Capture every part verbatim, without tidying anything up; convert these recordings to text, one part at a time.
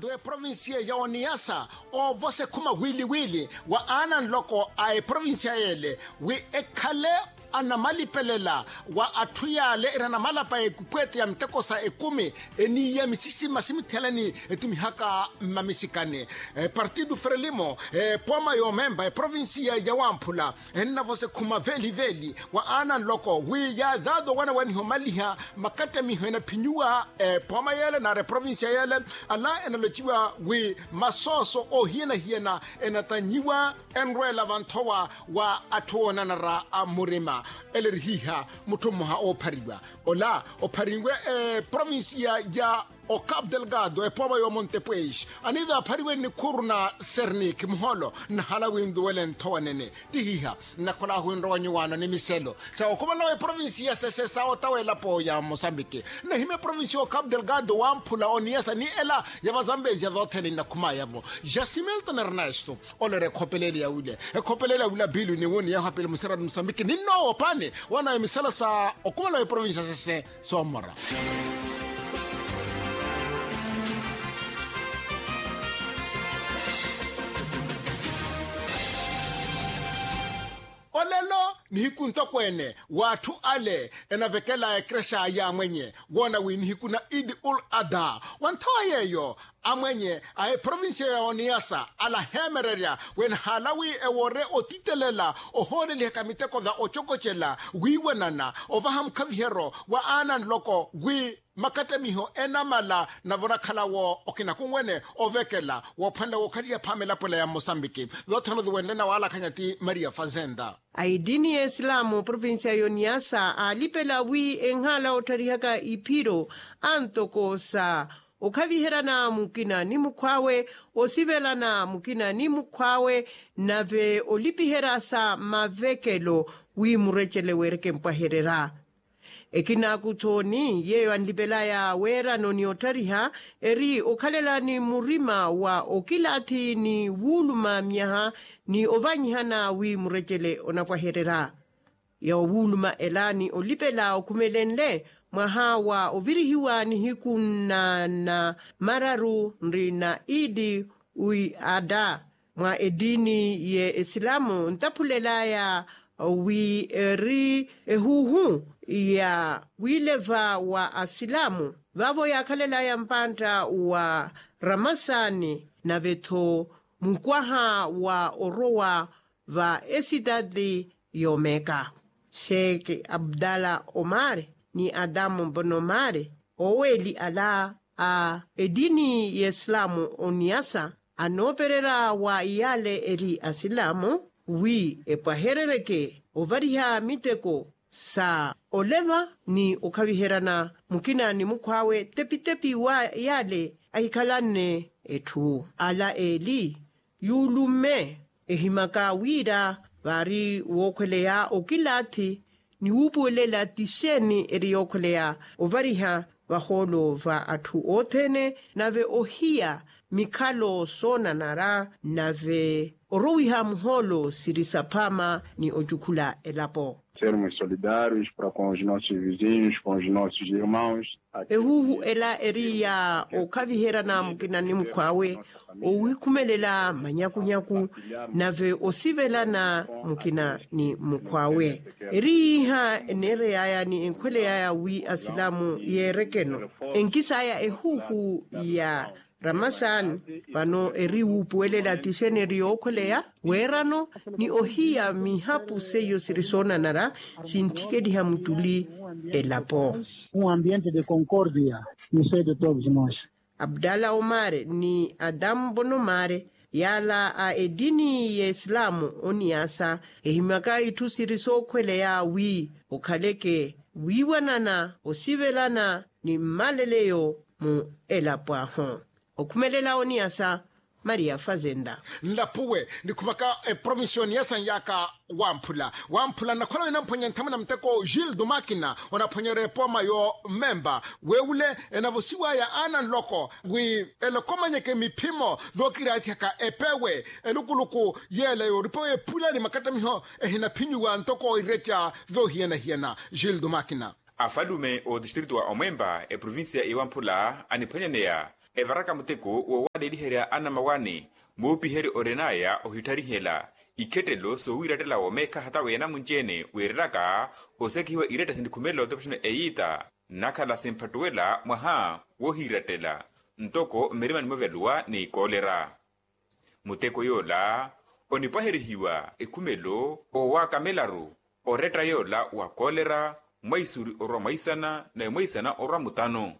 Eprovinsiya ya oniyasa, ovosa ekhuma wili wili wa aana nloko a eprovinsiya yeele wi ekhale anamalipelela wa atthu yaale eri anamalapa ekupweete ya miteko sa ekumi, eniiya misisima simithihalani etumihaka mmamisikani. Partido frelimo, epooma yoomemba eprovinsiya ya wamphula, ennavosa ekhuma veeli veeli wa aana nloko wi yaadhaadha owanawaniha omaliha makattamiho enaphinyiwa epooma yeele nari eprovinsiya yeele. Ala enalociwa wi masooso oohiyana-hiyana enatannyiwa enrweela vanthowa wa atthu oonanara murima. Ele eri hiiha mutthu mmoha oophariwa ola opharinwe eprovinsiya ya ocape delgado epooma y'omonte pweixe aniiza aphariwe nnikhuru na sernik muhoolo nnahala wi nluwele nthowa nene. Ti hiiha nnakhola ahu enrowa nyuwaano ni miselo sa okhumala w'eprovinsiya sese sa otawa elapo ya mosambiki. Nnahimya eprovinsiya ocape delgado wamphula oniyasa ni ela ya vazambezia zothene nnakhumaya-vo. Jasimilton ernesto olera ekhopelele ya wile ekhopelele ya wila bilu ni wuni yahu apili musera mosambiki ni nnoowo paani wana emisala sa okhumala w'eprovinsiya sese soomora. Olelo nihiku ntokweene w'atthu ale enavekela ekerexa y'amwenye woona wi nihiku na idi ul adha wa nthowa yeeyo amwenye a eprovinsiya ya oniyasa alaheemererya wenahaala wi ewoore otitelela ohoolelihaka miteko va ocokocela wiiwanana ovaha mukhavihero wa aana nloko wi makattamiho enamala navo onakhalawo okinakunwene ovekela woophwanela wookhaliha phaama elapo ela ya mmosambiki. Zothene oziwenle na waalakhanya ti maria fazenda. A etini y'esilamu provinsiya y'oniyasa aalipela wi enhaala ottarihaka iphiro antoko sa okhaviherana mukina ni mukhw'awe, osivelana mukina ni mukhw'awe, nave olipiherya sa mavekelo wi murecele weereke mpwahererya. Ekinaaku-tho ni yeeyo anlipelaya weerano ni otthariha eri okhalela ni murima wa okilaathi ni wuuluma myaha ni ovanyihana wi murecele onapwahererya. Yowuuluma ela ni olipela okhumelenle mwaha wa ovirihiwa nihiku nna mararu nri na idi wi ada mwa etini y'esilamu ntaphulelaya wi eri ehuuhu ya wileva wa asilamu vaavo yaakhalelaya mpantta wa ramasani nave-tho mukwaha wa orowa va esitati y'omeka. Sheekh abdala omar ni adamu bonomar oweeli ala a etini y'esilamu oniyasa anoopererya wa iyaale eri asilamu wi epwaherereke ovariha miteko sa oleva ni okhaviheryana mukina ni mukhw'awe tepitepi wa yaale ahikhalanne etthu ala eeli. Yuulumme ehimaka wira vaari wookhweleya okilaathi ni wuupuwelela ti xeeni eri yookhweleya ovariha vahoolo va atthu othene nave ohiya mikhalo soonanara nave orowiha muhoolo siri saphaama ni ocukhula elapo. Sermos solidários para com os nossos vizinhos, com os nossos irmãos. Ehuuhu ela eri ya okhaviheryana mukina ni mukhw'awe, owikhumelela manyakunyaku nave osivelana mukina ni mukhw'awe. Eri iiha eneerey'aya ni enkhweley'aya wi asilamu yeerekeno enkis'aya ehuuhu ya ramasan. Vano eri wuupuwelela ti xeeni eri yookhweleya weerano ni ohiya mihapu seiyo siri soonanara sintthikeliha muttuli elapo. Um ambiente de concórdia no seio de todos nós. Abdala omar ni adamu bonomar yaala a etini y'esilamu oniyasa ehimyaka itthu siri sookhweleya wi okhaleke wiiwanana osivelana ni mmaleleyo mu elapo ahu. Okhumelela oniyasa maria fazenda. Nlapuwe nikhumaka eprovinsi oniyasa nyaka wamphula wamphula nnakhola wina mphwanya nthamuna muteko gildo makina onaphwanyerya epooma yomemba wewule enavosiwaya aana nloko wi elokomanyeke miphimo vookirathihaka epewe elukuluku yeela yooripa wephula ni makattamiho ehinaphinyiwa ntoko ireca voohiyana-hiyana. Gildo makina. Afalume otistritu wa omwemba eprovinsiya iwamphula aniphwanyaneya evaraka muteko wowaleliherya anamawani. Muupiheryo orinaya ohitharihela ikhettelo sowiirattela womeekha hata weenamunci-ene wiirelaka osekihiwa ireetta sinikhumela otopixana eyiita, nakhala simphattuwela mwaha wohiirattela ntoko mmirima nimoveluwa ni koolera. Muteko yoola onipwaherihiwa ekhumelo owakamelaru oretta yoola wa koolera mwaisuri orwa mwaisana nawe mwaisana orwa mutano.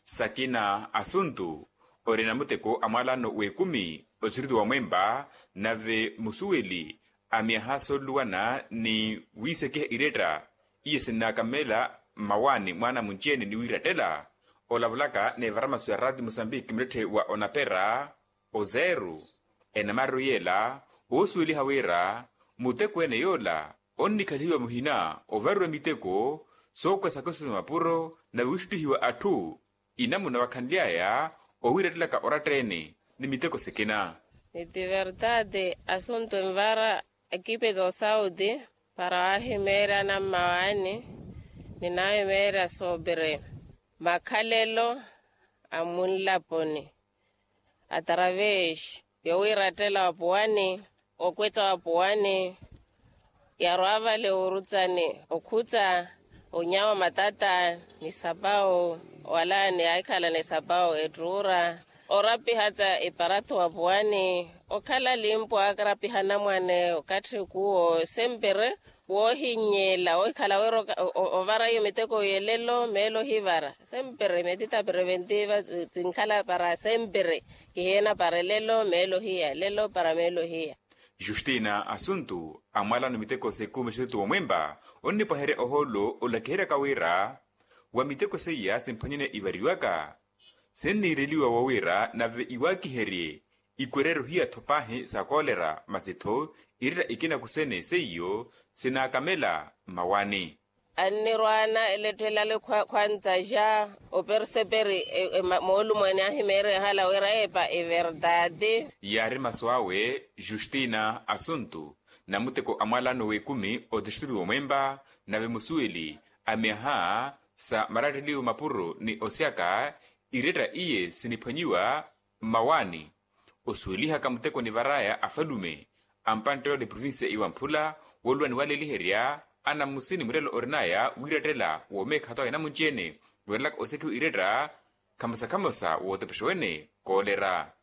Sakina asuntu orina muteko a mwalano w'ekumi osiriti wa mwemba nave musuweli a myaha sooluwana ni wiisekiha iretta iye sinnakamela mmawaani mwaana munci-ene ni wiirattela. Olavulaka n'evara masu ya raati musambiki muletthe wa onapera ozeeru enamariru yeela oosuweliha wira muteko ene yoola onnikhalihiwa muhina ovariwa miteko sookwesaka osuwela mapuro nave wiixuttihiwa atthu inamuna wakhanly'aya owiirattelaka oratta-ene ni miteko sikina. Ni ti vertade asuntu envara ekipe do sauti para wahimeerya anammawaani ni nahimeerya sobre makhalelo a munlaponi atravesi yowiirattela wapuwani okwetta wapuwani yarwa vale orutsani okhutsa onyawa matata ni sapawu wala ni ahikhala ni sapawu ettuura orapihatsa eparato wapuwani okhala limpo akarapiha anamwane okatthi kuwo sempere woohinnyela wohikhala wira ovara iyo miteko yelelo meelo ohivara sempere metita preventiva sinkhala para sempere kihiena para elelo meelo ohiya elelo para meelo ohiya. Justina asuntu amwalano miteko s'ekumi exerutu womwempa onnipwaherya ohoolo olakiheryaka wira wa miteko seiya simphwanyene ivariwaka sinniireliwa wowira nave iwaakiherye ikwereryo hiya-tho paahi sa koolera masi-tho iretta ikina kusene seiyo sinaakamela mmawaani. Annirwaana eletthelale khwantaxa operseperi moolumwani ahimeerya ehala wira epa everdade. Yaari masu awe justina asuntu namuteko a mwalano w'ekumi otixittiri womwempa nave musuweli a myaha sa maratteliwo mapuro ni osyaka iretta iye siniphwanyiwa mmawaani osuwelihaka muteko nivaraya afalume a mpantte yoole provincia iwamphula wooluwa niwaleliherya anamusini murelo orinaya wiirattela womeekha hata wa enamunci-ene weerelaka osekiwa iretta khamosa-khamosa wootepexa wene koolera.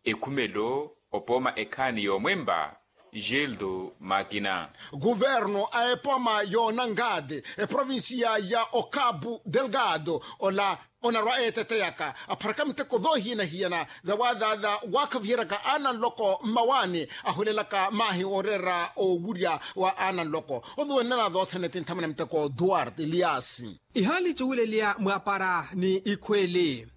Ekhumelo opooma ekhaani yoomwempa gildo makina. Kuverno a epooma y'onangade eprovincia ya okabu delgado ola onarwa eeteteyaka apharaka miteko thoohiyana-hiyana thawaathaatha waakhaviheryaka aana nloko mmawaani ahulelaka maahi ooreera owurya wa aana nloko othuwennana thoothene ti nthamana miteko duarte eliasi. Ihaali cuwilelya mwaapara ni ikhweeli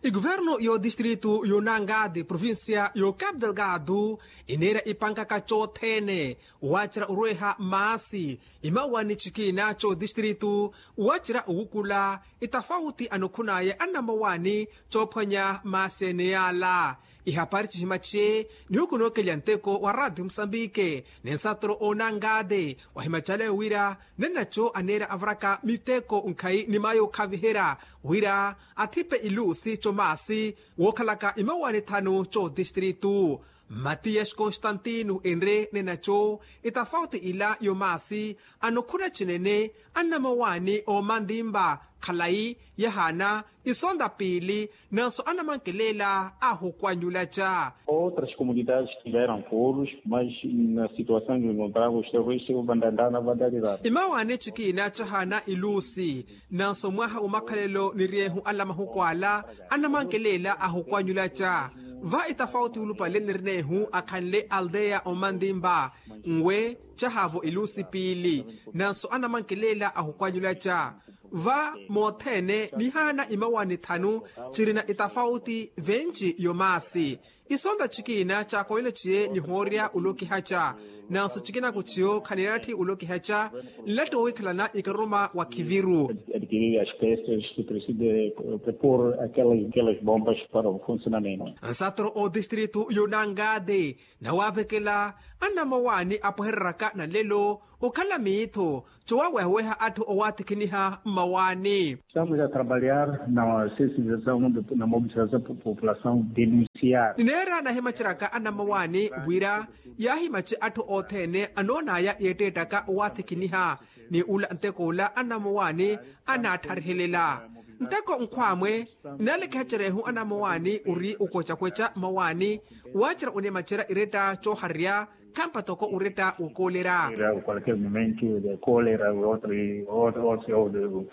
ikuverno y'otistritu y'onangade provincia y'ocapu delgado eneerya ipankaka cothene waacerya orweha maasi imawani cikina c'otistritu waacerya owukula itafauti anokhunaya annamawani coophwanya maasi ene yaala. Ihapari cihimacye nihukunookelya nteko wa raati musambike ni nsatoro onangade wahimacalaya wira nennaco aneera avaraka miteko nkhayi ni mayo okhaviherya wira athipe ilusi comaasi wookhalaka imawani thanu cotistritu. Matiyasi konstantino enre nenaco itafauti ila yomaasi anokhuna cinene annamawani oomantimpa khalayi yahaana isonta piili nanso annamankelela ahukwanyulaca. Outras comunidades tiveram furos mas na situação de encontrava os terroristas vou bandandana vandalirana. Imawani cikina cahaana ilusi nanso mwaha wa makhalelo niryehu ala mahuku ala annamankelela ahukwanyulaca. Va itafauti ulupale nirinehu akhanle aldeya omantimpa nwe cahaavo ilusi piili nanso annamankelela ahukwanyulaca. Va mothene nihaana imawani thanu cirina itafauti venci yomaasi isonta cikina caakoyela ciye nihoorya olokihaca nanso cikina kuciyo khaninatthi olokihaca nlatti wowikhalana ikaruma wa khiviru. Tiri aspestos ke preside propor akelas bombas para o funsionamento. Nsatro o distrito yunangade nawavekela anamawani apwehereraka nalelo okhala miitho cowawehaweha atthu owathikiniha mmawani. Estamos a trabalhar na sensibilizasaw na mobilizasaw populasaw denunciar. Nineera nahimaceraka anamawani wira yaahimace atthu othene anoonaya yeetteettaka owathikiniha ni ula nteko ula anamawani anaattharehelela nteko nkhwamwe. Nalekehacerehu anamawani ori okwecakweca mawani waacera onimacerya iretta cooharerya khampa toko oretta wokoolera.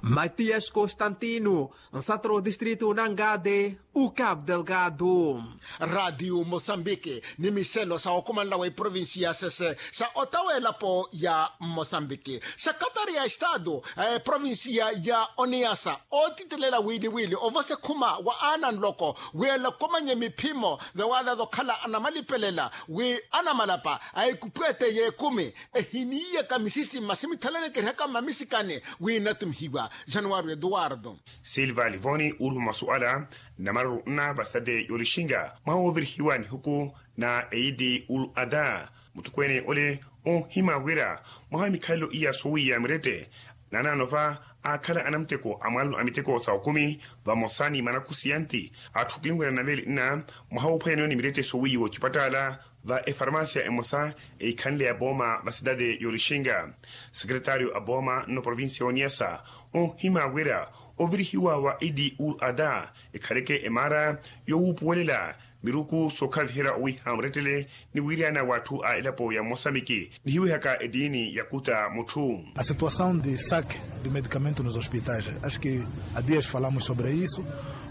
Matias constantino nsatro distrito nangade. Ukapu delgado. Radiu mosambiki ni miselo sa okumanela wa eprovinsi ya sese sa otawa elapo ya mosambiki. Sekretari ya estado a eprovinsiya ya oniasa ootitelela wili wili ovose khuma wa aana nloko wi elakomanye miphimo vewaaza zokhala anamalipelela wi anamalapa a ekupwete y'ekumi ehiniiyaka misisi masi mithalalekerihaka mmamisikani wi inatumihiwa. Januwari eduwardo silva livoni ulupa masuala na maruru nna vasitade yolixinga mwaha woovirihiwa nihuku na eidi ul ada. Muthukwene ole onhima wira mwaha wa mikhalelo iya soowiya mirette naanaano va aakhala anamuteko a mwaalano a miteko sa okumi vamosa ni manakusiyanti atthu kinwerya na veeli nna mwaha woophwanyaniwa ni mirette soowiyiwa ocipatala. Va efarmasia emosa eikhanle ya booma va sitade yolixinga. Sekretario a booma nno provincia ya oniasa onhima wira ovirihiwa wa idi ul ada ekhaleke emaara yowuupuwelela miruku sookhaviherya owiiha murettele ni wiiryana w'atthu a elapo ya mosambiki nihiwihaka etiini ya kuta mutthu. A situação de saque de medicamento nos hospitais acho que a dias falamos sobre isso.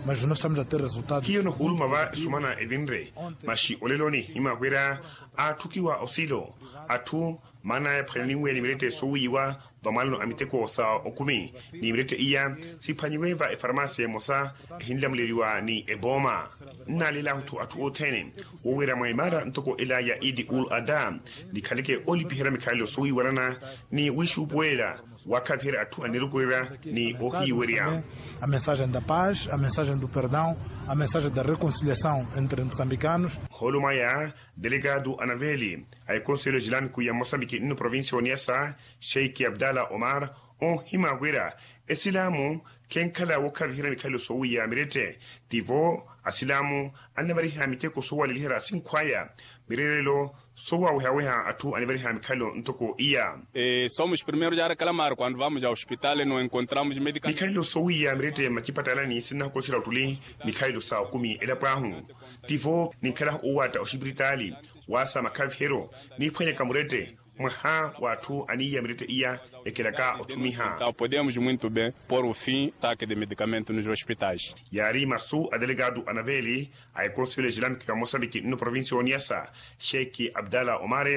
Mas nós estamos a ter resultados hiyo nohuuluma va esumana evinre. Maxi olelo onihima wira atthukiwa osilo atthu maana ephwanyaninwe ni mirette soowiiwa vamwaalano a miteko sa okumi ni mirette iya siphwanyiwe va efarmasia emosa ehinlamuleliwa ni ebooma. Nnaleela ahutthu atthu othene woowira mwa imaara ntoko ela ya idi ul ada nikhaleke olipiherya mikhalelo soowiiwanana ni wixuupuwelela wakhaviherya atthu anirukurerya ni ohiiwerya. A mensagem da paz, a mensagem do perdão, a mensagem da reconciliação entre moçambicanos. Nhoolo mwaya delegado anaveeli a ekonselho islamico ya mosambiki nno provincia ya oniasa sheikh abdallah omar onhima wira esilaamu khenkhala wookhaviherya mikhalelo soowiya mirette. Tivo asilaamu annavariha miteko soowaleliherya asinkhwaya mirerelo soowawehaweha atthu anivariha mikhalelo ntoko iya. Somos primeiros a reclamar quando vamos a hospital no encontramos medicamentos. Mikhalelo soowiya mirette mmacipatalani sinnahukoxerya ottuli mikhalelo sa okumi elapo ahu. Tivo ninkhalahu owatta oxipiritaali waasa makhaviheryo niiphwanyaka murette mwaha w'atthu aniiya mirette iya ekelaka otthumiha. Podemos muito bem pôr o fim saque de medicamento nos hospitais. Yaari masu a delegado anaveeli a ekonselho islamico ya mosambiki nno provincia ya oniasa sheikh abdallah omar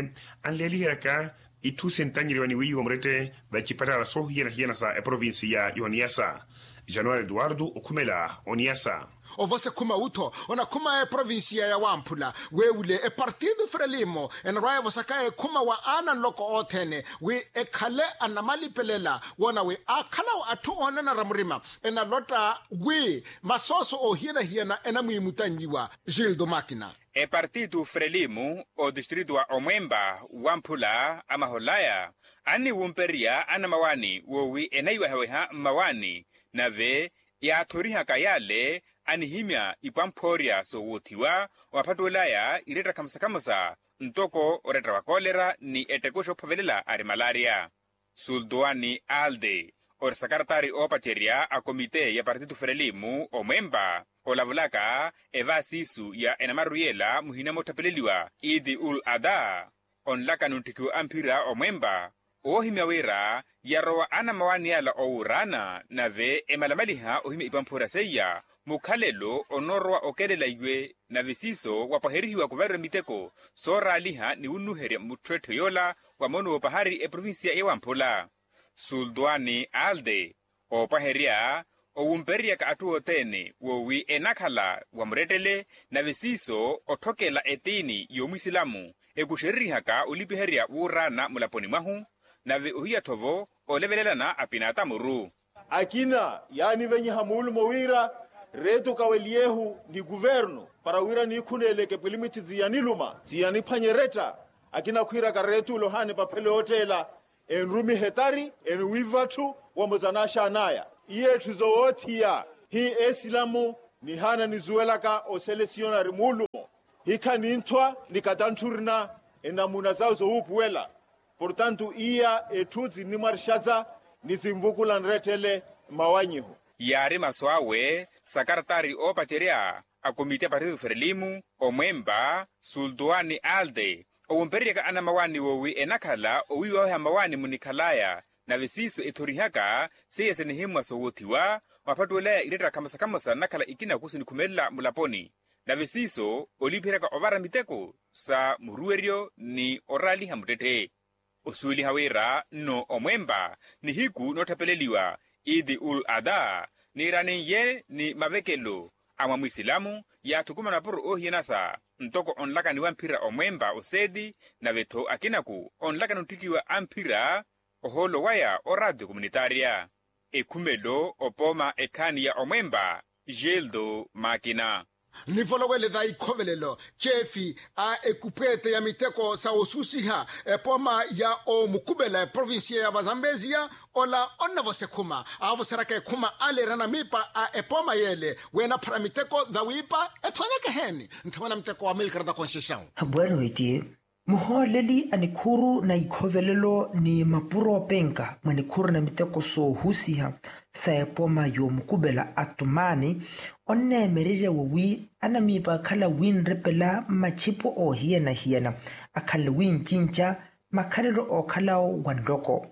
anleeliheryaka itthu sintanyeriwa ni wiiwa murette va icipatala soohiyana-hiyana sa eprovincia ya oniasa. Januwari eduwardo okhumela oniasa. Ovose khuma wutho onakhuma eprovincia ya wamphula weewule epartido frelimo enarwaya evosaka ekhuma wa aana nloko othene wi ekhale anamalipelela woona wi aakhalawo atthu oonanara murima enalotta wi masooso oohiyana-hiyana enamwiimutannyiwa. Gildo makina. Epartido frelimo otistrito wa omwempa wamphula amaholaya anniwumpererya anamawani woowi enayiwehaweha mmawani nave yaathorihaka yale anihimya ipwamphoorya soowuthiwa owaphattuwelaya iretta khamosa-khamosa ntoko oretta wa kolera ni etteko xoophovelela ari malaria. Sultuwani alde ori sakaratari oopacerya a komite ya partitu frelimu omwempa olavulaka evaasiisu ya enamaru yela muhina moottapeleliwa idi ul ada onlaka ni ontthikiwa amphira omwempa woohimya wira yarowa anamawani yala owuuraana nave emalamaliha ohimya ipamphura seiya mukhalelo onoorowa okelela iwe nave siiso wapwaherihiwa kuvariwa miteko sooraaliha ni wunnuherya mutthu etthu yoola wa mono woopahari eprovinsiya ya wamphula. Sultuwani alde oopwaherya owumpereryaka atthu othene woowi enakhala wa murettele nave siiso otthokela etiini y'omwisilamu ekuxerereihaka olipiherya wuuraana mulaponi mwahu nave ohiya-tho-vo olevelelana apinatamuru. Akina yaanivenyiha muulumo wira reetu kaweliyehu ni kuvernu para wira niikhuneeleke pwilimiti ziyaniluma ziyaniphwanyeretta. Akina khwiiraka reetu olohaani epaphelo yootteela enrumihe etari eniwiiva atthu wamutsa n'axaan'aya. Iye etthu zowoothiya hi esilamu nihaana nizuwelaka oselesiyonari muulumo hikha ninthwa ni katantthurina enamuna zawe zowuupuwela. Portantu iya etthu zinnimwarixaza ni zinvukula nrettele mmawanyiho. Yaari masu awe sakaratari oopacerya a komiti ya partido ferelimu omwempa sultuwani alde owumpereryaka anamawaani woowi enakhala owiiwaweha mawaani munikhalaya. Nave siiso ethorihaka seiya sinihimmwa soowothiwa mwaphattuwelaya iretta khamosa-khamosa nnakhala ikinaku sinikhumelela mulaponi. Nave siiso olipiheryaka ovara miteko sa muruweryo ni oraaliha muttetthe. Osuweliha wira nno omwempa nihiku nootthapeleliwa idi ul ada niiranin'ye ni mavekelo a mwa mwisilamu yaathukumana puro oohiyanasa ntoko onlakaniwa mphira omwempa oseeti. Nave-tho akinaku onlakana otthikiwa amphira ohoolo waya oraatiyo komunitaarya ekhumelo opooma ekhaani ya omwempa. Geldo makina. Nivolowele va ikhovelelo ceefi a ekupweete ya miteko sa osusiha epooma ya omukupela eprovinsiya ya vazambezia ola onnavosa ekhuma aavoseraka ekhuma aleerana miipa a epooma yeele weenaphara miteko vawiipa ethonyeke eheeni. Nthamana miteko wa milkarata konxexawu. Habwari witiye muhooleli a nikhuuru na ikhovelelo ni mapuro openka mwa nikhuuru na miteko soohusiha sa epoma yoomukupela atumaani onneemererya wowi anamiipa akhala winrepela mmachipo oohiyana-hiyana akhalale wincinca makhalelo ookhalawo wa nloko.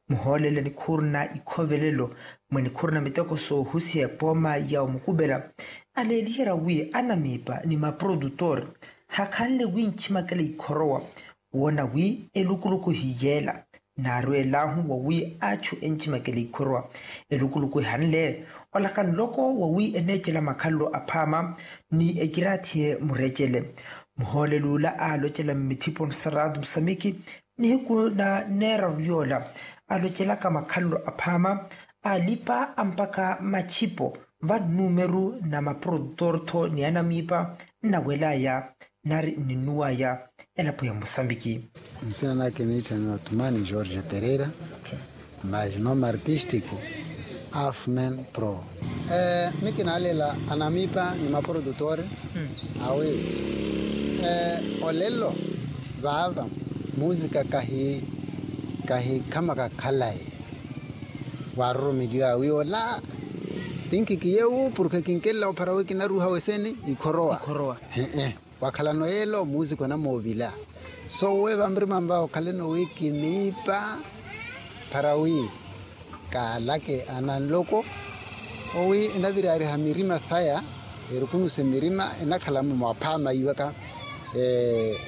Muhooleli a nikhuuru na ikhovelelo mwa nikhuuru na miteko soohusiha epoma ya omukupela aleeliherya wi anamiipa ni maprodutor hakhanle winchimakela ikhorowa woona wi elukuluku hiyeela naarwelahu wowi achu enchimakela ikhorowa elukuluku ehanle olaka nloko wowi eneecela makhalelo aphaama ni ekiraathiye murecele. Muhooleli ula aalocela mmithipo nsaraatu musamiki nihiku na neeraru yoola alocelaka makhalelo aphaama alipa ampakha machipo va nnumeru na maprodutor-tho ni anamiipa nnawelaya nari nninnuwaya elapo ya musambiki. Nsina nake niitthaniwa tumani george pereira mas nome artístico afmen pro. Mikinaalela anamiipa ni maprodutor awi olelo vaava musika kahi kahikhama kakhalayi waaroromeliwa awi ola tinkikiyewu porke kinkelela ophara wi kinaruha weseni ikhorowa. Wakhalano yeelo musika onamoovila so we vamurimanva okhaleno wi kiniipa phara wi kaalake ananloko owi enavirariha mirima saya erukunuse mirima enakhala mumwaphaama iwaka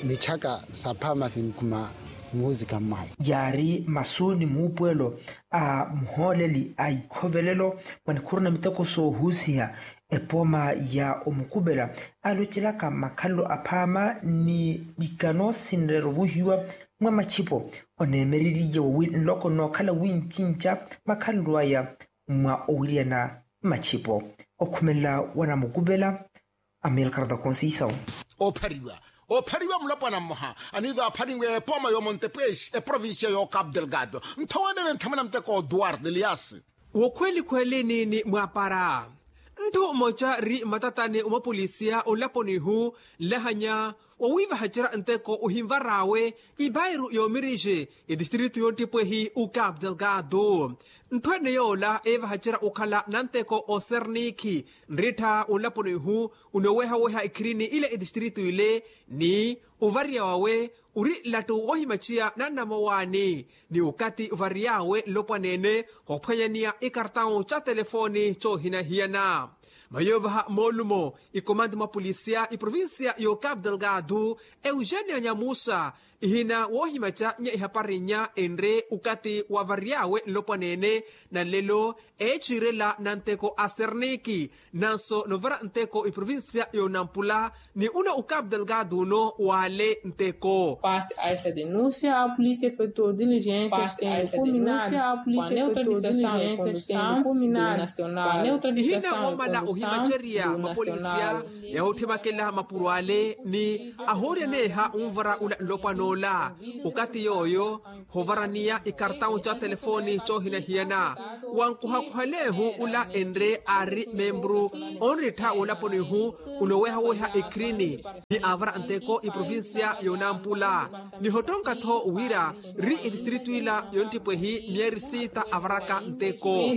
michaka saphaama sinkhuma muhuzika mmahu. Yaari masu ni muupuwelo a muhooleli a ikhovelelo mwa nikhuru na miteko soohusiha epooma ya omukupela alocelaka makhalelo aphaama ni ikano sinreera ovuhiwa mwa machipo oneemereriye wowi nloko nookhala wincinca makhalelo aya mwa owiriyana machipo okhumelela wanamukupela. Amilcar da conceição. Ophariwa ophariwa mulapwana mmoha aniiza apharinwe epooma yo montepwexi eprovincia yo cap delgado nthowanene nthamana muteko duarte elias. Wokhweli khwelini ni mwapara nthu mmoca ri mmatatani omapolisiya onlaponihu nlahanya wowiivahacerya nteko ohinvar'awe ipairu yoomirixi etistritu yoottipwehi o cap delgado. Ntthu ene yoola eevahacerya okhala nanteko osernikhi nrittha onlaponihu onoowehaweha ekhirini ile etistritu ile ni ovarya wawe ori nlattu woohimaciya nannamowaani ni okathi ovariy'awe nlopwaneene khoophwanyaniya ekartawu ca telefooni coohinahiyana. Mayoovaha moolumo ikomandi mwa polisiya iprovincia yo cap delgado eugenia nyamusa Ihina woohimaca nya ihapari nya enre ukati wavary'awe nlopwaneene. Na nlelo eechiirela na nteko a serniki nanso novara nteko iprovincia y'onampula ni uno ukapu delgado uno waale nteko. Pasi a esta denúncia a polícia efetuou diligências sem culminar. Ihina woomala ohimacerya mapolisia yahootthemakela mapuro ale ni ahooryaneeha onvara ula nlopwan'ola. Okati yooyo hovaraniya ikartawu ca telefoni coohinahiyana. Wankuhakuhaleehu ula enre aari memburu onrittha woolaponihu unowehaweha ekhirini ni avara nteko iprovincia y'onampula. Nihottonka-tho wira ri itistritu ila yonttipwehi miyeri sita avaraka nteko.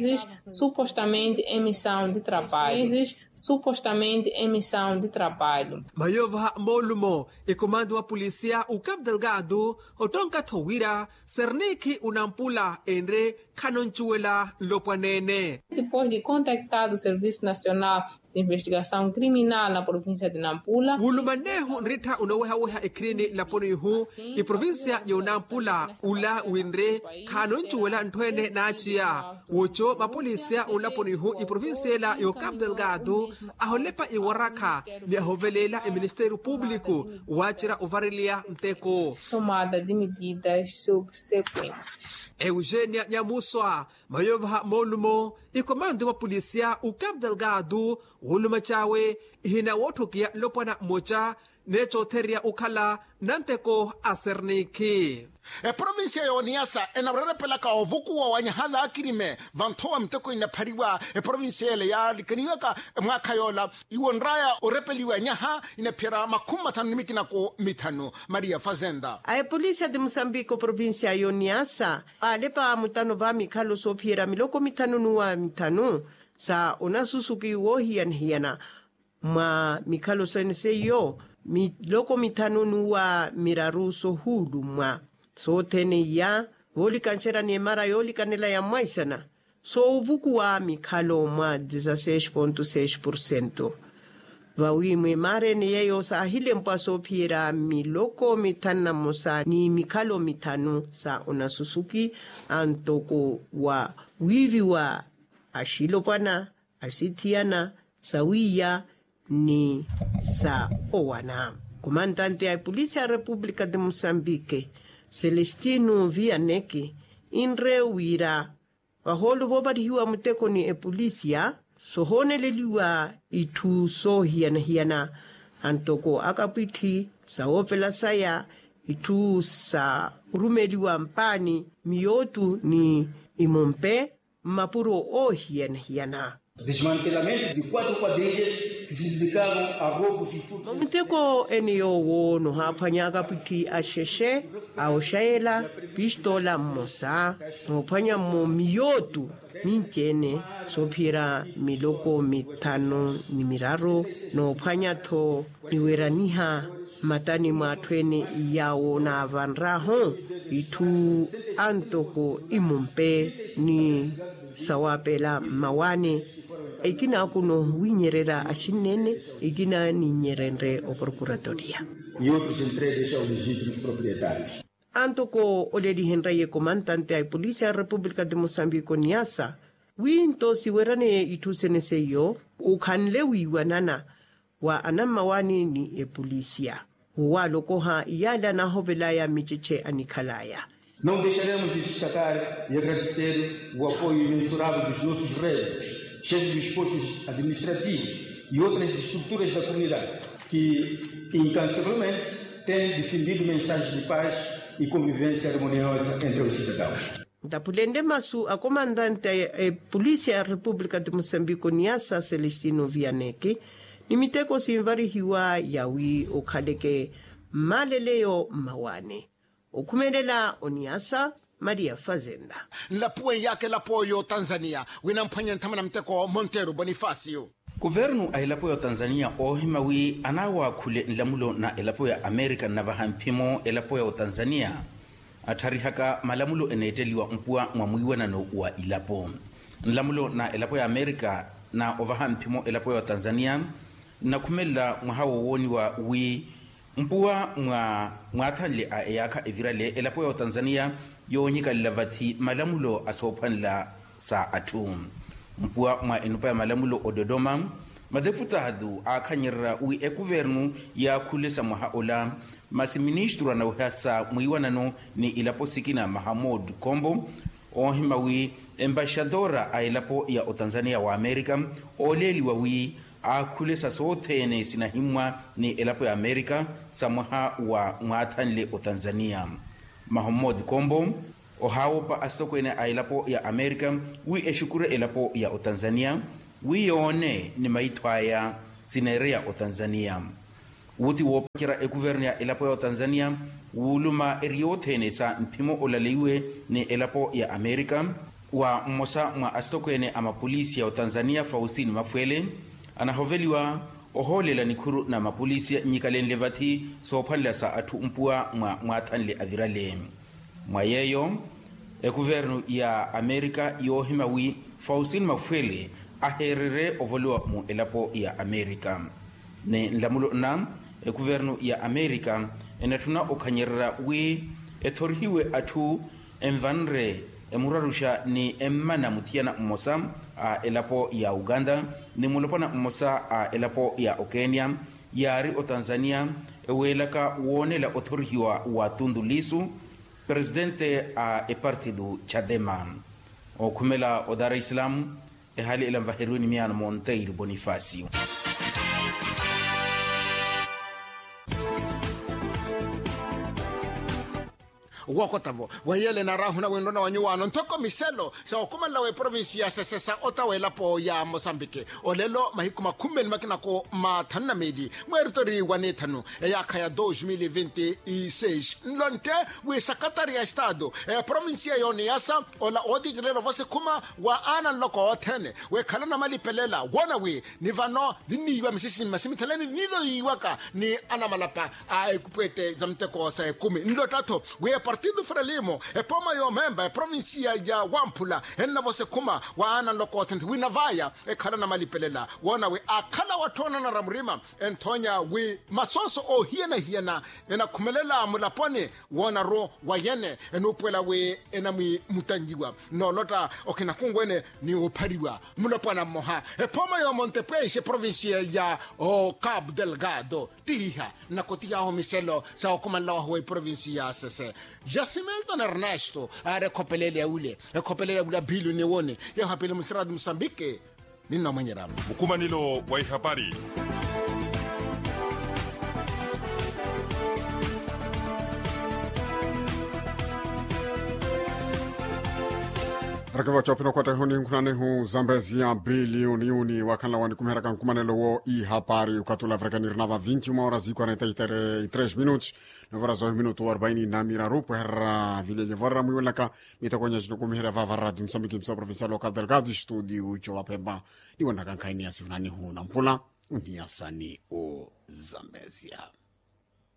Supostamente emissão de trabalho. Supostamente emissão de trabalho. Mayovaha moolumo ekomando wa polisia ukapu delgado ottonka-tho wira sernikhi unampula enre khanonttuwela nlopwaneene. Depois de contactado o serviço nacional de investigação criminal na província de nampula. Wulumannehu nrittha unowehaweha ekhirini nlaponi ihu iprovincia y'onampula ula winre khaanonttuwela ntthu ene naaciya. Woco mapolisia onlaponi ihu iprovincia ela y'okapu delgado aholepa iwarakha ni ahoveleela eministeriyo publiku waacerya ovareliya nteko. Tomada de medidas subsequentes. Eugenia nyamuswa mayovaha moolumo ikomando wa polisia ukapu delgado woolumac'awe ihina wootthokiya nlopwana mmoca neecoothererya okhala nanteko a sernikhi. Eprovincia y'oniyasa enawererepelaka ovukuwa wa nyaha vaakirime vanthowa miteko inaphariwa eprovincia yele yaalikaniwaka mwaakha yoola iwo nraya orepeliwa nyaha inaphiyara makhumi mathanu ni mikinako mithanu. Maria fazenda a epolicia de mosambiko provincia y'oniyasa vaalepa mutano va mikhalo soophiyera miloko mithanu n'uwa mithanu sa onasusuki woohiyana-hiyana mwa mikhalo sene seiyo miloko mithanu n'uwa miraru sohuulumwa sothene iya voolikanxerya ni emara yoolikanela ya mwaisana soovukuwa mikhalo mwa dezaseix ponto seix porcento. Vawi mwa emara ene yeyo saahilempwa soophiyera miloko mithanu na mmosa ni mikhalo mithanu sa onasusuki antoko wa wiiviwa axilopwana axithiyana sawiiya ni sa owana. Komantante a epolicia ya repupulika de mosambike celestino vianeke inre wira vahoolo voovarihiwa muteko ni epolicia sohooneleliwa itthu soohiyana-hiyana antoko akapwitthi sawoopela saya itthu sa orumeliwa mpaani miyootu ni imompe mmapuro oohiyana-hiyana. Desmantelamento de quatro quadrilhas que se dedicavam a roubos e furtos. Mamuteko ene yoowo nohaaphwanya akapwitthi axexe a oxayela pistola mmosa noophwanya-mo miyootu minci-ene soophiyera miloko mithanu ni miraru noophwanya-tho niweraniha mmatani mwa atthu ene yaawo naavanrahu itthu antoko imumpe ni sawaapela mmawaani. Ekina akuno wiinyererya axinneene ekina niinyerenrye oprokuratoria. Antoko olelihenrye komantante a epolicia ya repupulika de mosambiko niasa wi nto siweraneye itthu sene seiyo okhanle wiiwanana wa anammawaani ni epolicia wowaalokoha iyaale anaahovelaya miceche anikhalaya. Não deixaremos de destacar e agradecer o apoio imensurável dos nossos redes, chefes dos postos administrativos e outras estruturas da comunidade que incansavelmente têm difundido mensagens de paz e convivência harmoniosa entre os cidadãos. Ntaphulenle masu a komantante a epolicia ya repupulika de mosambiko niasa celestino vianeke ni miteko sinvarihiwa yawi okhaleke mmaleleyo mmawaani. Okhumelela oniasa maria fazenda. Nlapuwe yaaka elapo y'otanzania winamphwanye nthama na muteko monteru bonifacio. Kuvernu a elapo y'otanzania oohima wi anaawaakhule nlamulo na elapo ya amerika nnavaha mphimo elapo ya otanzania attharihaka malamulo eneetteliwa mpuwa mwa mwiiwanano wa ilapo. Nlamulo na elapo ya amerika na ovaha mphimo elapo ya otanzania nnakhumelela mwaha wowooniwa wi Mpuwa mwa mwaathanle a eyaakha evirale elapo ya otanzaniya yoonyikalela vathi malamulo a soophwanela sa atthu. Mpuwa mwa enupa ya malamulo ododoma, mateputaatu aakhanyererya wi ekuvernu yaakhulesa mwaha ola, masi ministru anawihasa mwiiwanano ni ilapo sikina mahamud kombo, oohima wi embaxatora a elapo ya otanzaniya wa amerika ooleeliwa wi aakhulesa sothene sinahimmwa ni elapo ya amerika sa mwaha wa mwaathanle otanzaniya. Mahamud kombo ohaawopa asitokweene a elapo ya amerika wi exukure elapo ya otanzaniya wi yoone ni maitho aya sineereya otanzaniya. Wuti woopacerya ekuvernu ya elapo ya otanzaniya wuuluma eri yothene sa mphimo olaleiwe ni elapo ya amerika, wa mmosa mwa asitokweene a mapolisi ya otanzaniya faustini mafwele anahoveliwa ohoolela nikhuru na mapolisi nyikalenle vathi soophwanela sa atthu mpuwa mwa mwaathanle avirale. Mwa yeeyo ekuvernu ya amerika yoohima wi faustini mafwele aheererye ovoliwa mu elapo ya amerika. Ni nlamulo nna ekuvernu ya amerika enatthuna okhanyererya wi ethorihiwe atthu envanre emuraruxa ni emmana muthiyana mmosa a elapo ya uganda ni mulopwana mmosa a elapo ya okenya yaari otanzaniya eweelaka woonela othorihiwa wa tundu lisu, presidente a epartido chadema. Okhumela o dar es salaam ehaali ela nvaheriwe ni miyaano monteiro bonifacio. Wookotavo wahiyele naarahuna winrona wa nyuwaano nthoko miselo sa okumanela wa eprovinsi ya sese sa ota w'elapo ya mosambiki. Olelo mahiku makhumi meeli makinako mathanu na meeli mweeritori wa nithanu eyaakha ya dos mil e vinte e seis nlontte wi sakatari ya estado eprovinsi ya yoniyasa ola ootitirela vosi khuma wa aana nloko othene wekhala namalipelela woona wi ni vano ninniiwa misisi mmasimithela ni niiloyiwaka ni anamalapa a ekupwete za muteko sa ekumi nlottatho wi epartido frelimo epooma yoomemba eprovinsiya ya wamphula ennavosa ekhuma wa aana nloko othene wi navaya ekhala namalipelela woona wi akhala watthoonanara murima enthoonya wi masooso oohiyana-hiyana enakhumelela mulaponi woonaru wayene enuupuwela wi enamwimutanyiwa noolotta okhinakunwene ni oophariwa mulopwana mmoha epooma yoomontepweixe eprovinsiya ya o cabo delgado tihiha nnakotihahu miselo sa okumanela wahu wa eprovinsiya ya sese jasimilton ernesto aari ekhopelele ya wile ekhopelele ya wile aphili oniwoni yeeho apili musirati musambiki ninna omwenyerya mukumanelo wa ihapari. Arakeva coopina okhwatta ihu ninkhuna nihu zambezia biliyoni wakhanla wanikumiheryaka nkumanelo wo ihapari okathi ula avireka nirinava vinci uma horas i quarenta e três minutos novaraza ohi minutu wa arubaini na miraru pweherera vilelye vorramwiwelaka mitakonya cinokumiherya vava radio musambiki msa provincial local delgado studio co vapemba niwonaka nkhaini ya sihunanihu na mpula uniyasani o zambezia.